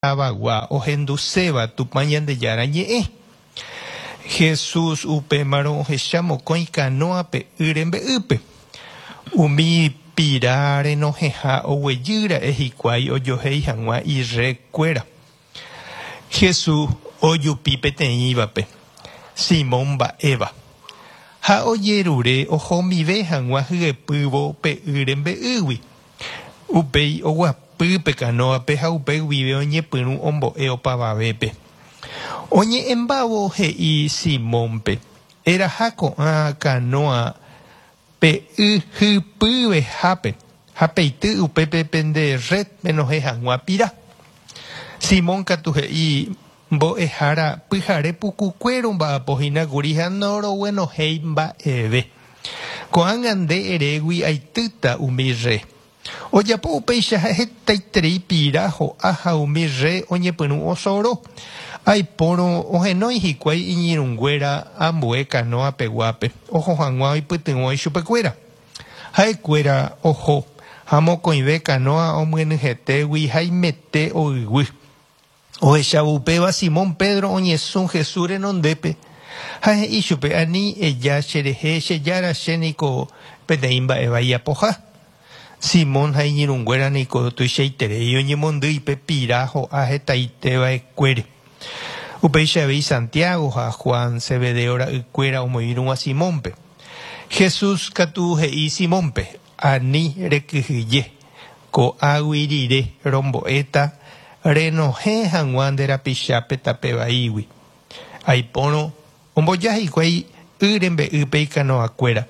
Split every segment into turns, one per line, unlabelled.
Tavagua ohenduséva Tupã Ñandejára ñe'ẽ. Jesús upémarõ ohecha mokõi kanóa pe y rembe'ýpe. Umi pira renohẽha oguejy ra'e hikuái ojohéi hag̃ua irréd kuéra. Jesús ojupi peteĩvape, Simón mba'éva, ha ojerure ohomive hag̃ua hyepývo pe y rembe'ýgui. Upéi oguapy pe kanóape ha upe guive oñepyrũ ombo'e opavavépe. Oñe'ẽmbávo he'i Simónpe, Eraha ko'ã kanóa pe y hypyvehápe ha peity upépe pende rred penohẽ hag̃ua pira. Simón katu he'i, Mbo'ehára, pyhare pukukue romba'apo hína kuri ha noroguenohéi mba'eve. Ko'ág̃a nde erégui aitýta umi rre. Ojapo upéicha ha hetaiterei pira ho'a ha umi rre oñepyrũ osoro. Aipórõ ohenói hikuái iñirũnguéra ambue kanóa peguápe oho hag̃ua oipytyvõ ichupekuéra. Ha'ekuéra oho, ha mokõive kanóa omyenyhẽtégui haimete oyguy. Ohechávo upéva, Simón Pedro oñesũ Jesús renondépe ha he'i chupe, Ani eja cherehe, che Jára, che niko peteĩ mba'e vai apoha. Simón ha iñirũnguéra niko tuichaiterei oñemondýi pe pira ho'a hetaite va'ekuére. Upéicha avei Santiago ha Juan, Zebedeo ra'ykuéra omoirũva Simónpe. Jesús katu he'i Simónpe, Ani rekyhyje, ko'águi rire rombo'éta renohẽ hag̃ua nde rapichápe tape vaígui. Aipórõ omboja hikuái y rembe'ýpe ikanoakuéra,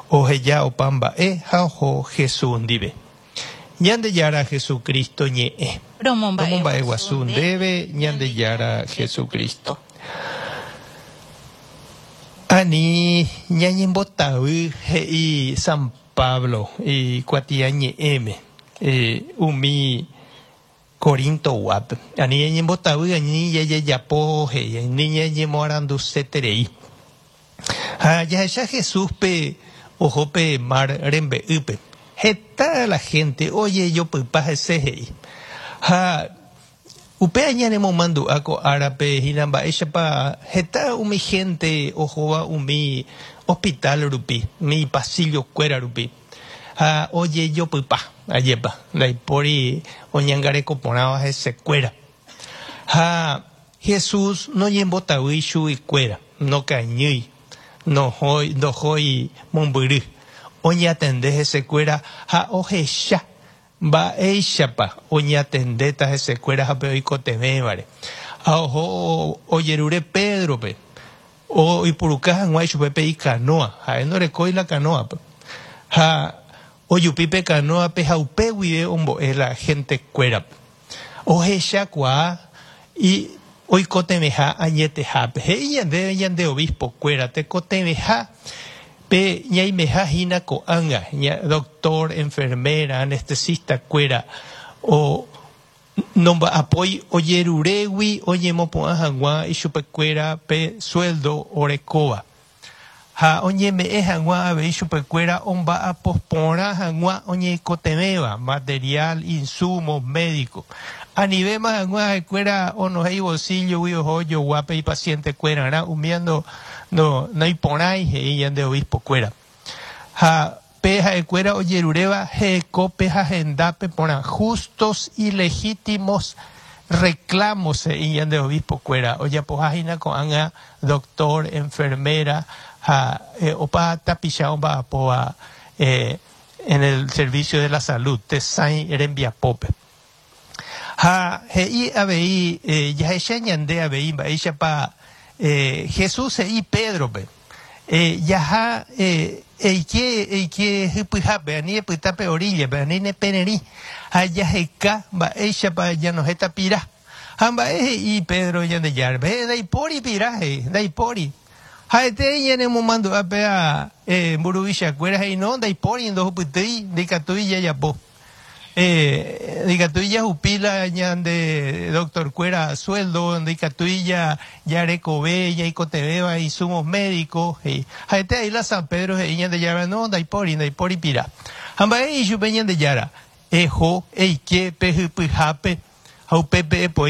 oheja opa mba'e ha oho Jesús ndive. Ñandejára Jesucristo ñe'ẽ. Romomba'eguasu ndéve Ñandejára Jesucristo. Ani ñañembotavy, he'i San Pablo ikuatiañe'ẽme umi Corintoguápe. Ani ñañembotavy, ani jajejapo, he'i, ani ñañemoaranduseterei. Ha jahecha Jesúspe oho pe mar rembe'ýpe. Heta la hénte ojejopypa hese, he'i. Ha Upéva ñanemomandu'a ko árape hína mba'éichapa heta umi hénte ohóva umi hospital rupi, umi pasillo-kuéra rupi, ha ojejopypa, ajépa, ndaipóri oñangareko porãva hesekuéra. Ha Jesús noñembotavýi chuguikuéra, nokañýi, nohói, ndohói mombyry, oñatende hesekuéra ha ohecha Mba'éichapa oñatendéta hesekuéra ha pe oikotevẽvare? Ha oho ojerure Pédrope oipuruka hag̃ua ichupe pe ikanóa, ha'e ndorekói la kanóape. Ha ojupi pe kanóape ha upe guive ombo'e la hentekuérape. Ohechakuaa oikotevẽha añetehápe. He'i ñandéve ñande obispo-kuéra tekotevẽha Pe ñaimeha hína ko'ág̃a, doctor, enfermera, anestesista-kuéra o nomba'apói ojerurégui oñemopu'ã hag̃ua ichupekuéra pe sueldo orekóva, ha oñeme'ẽ hag̃ua avei chupekuéra omba'apo porã hag̃ua oñeikotevẽva, material, insumos médico, anivéma hag̃ua ha'ekuéra onohẽ ibolsillo-gui oho ojogua pe ipaciente-kuerarã, umíva ndo No, noiporãi, he'i ñande obispo-kuéra. Ha pe ha'ekuéra ojeruréva hekópe ha hendápe porã, justos y legítimos reclamos, he'i ñande obispo-kuéra, ojapoha hína ko'ág̃a doctor, enfermera ha opa tapicha omba'apóva en el servicio de la salud, tesãi rembiapópe. Ha he'i avei, jahecha ñande avei mba'éichapa Jesús he'i Pédrope, Jaha eike, eike hypyhápe, ani epyta pe oríllape, ani nepererĩ, ha jaheka mba'éichapa janohẽta pira. Ha mba'e he'i Pedro Ñandejárape? He'i, Ndaipóri pira, he'i, ndaipóri. Ha'ete ñanemomandu'a péva mburuvichakuéra he'i, no, ndaipóri, ndohupytýi, ndaikatúi jajapo. Ndaikatúi jahupi la ñande doctor-kuéra sueldo, ndaikatúi jarekove ñaikotevẽva insumos médicos, he'i. Ha'ete ahí la San Pedro he'i Ñandejára, no, ndaipóri, ndaipóri pira. Ha mba'e he'i chupe Ñandejára? Eho, eike pe hypyhápe. Ha upépe epoi.